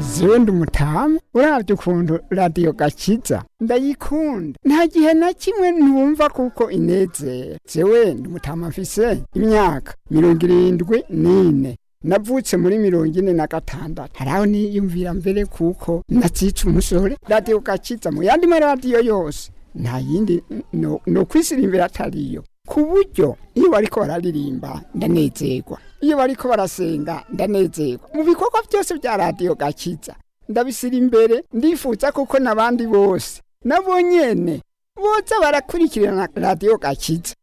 Zewe ndi umutamu, uravye ukuntu Radiyo Gakiza ndayikunda, nta gihe na kimwe ntumva kuko inezera. Zewe ndi umutamu, mfise imyaka 74, navutse muri 46. Haraho niyumvira mbere kuko nacica umusore. Radiyo Gakiza mu yandi maradiyo yose nta yindi no kwisirimbira atariyo, ku buryo iyo bariko bararirimba ndanezerwa, iyo bariko barasenga ndanezerwa. Mu bikorwa byose bya Radiyo Gakiza ndabisira imbere, ndifuza kuko n'abandi bose nabo nyene boza barakurikirana Radiyo Gakiza.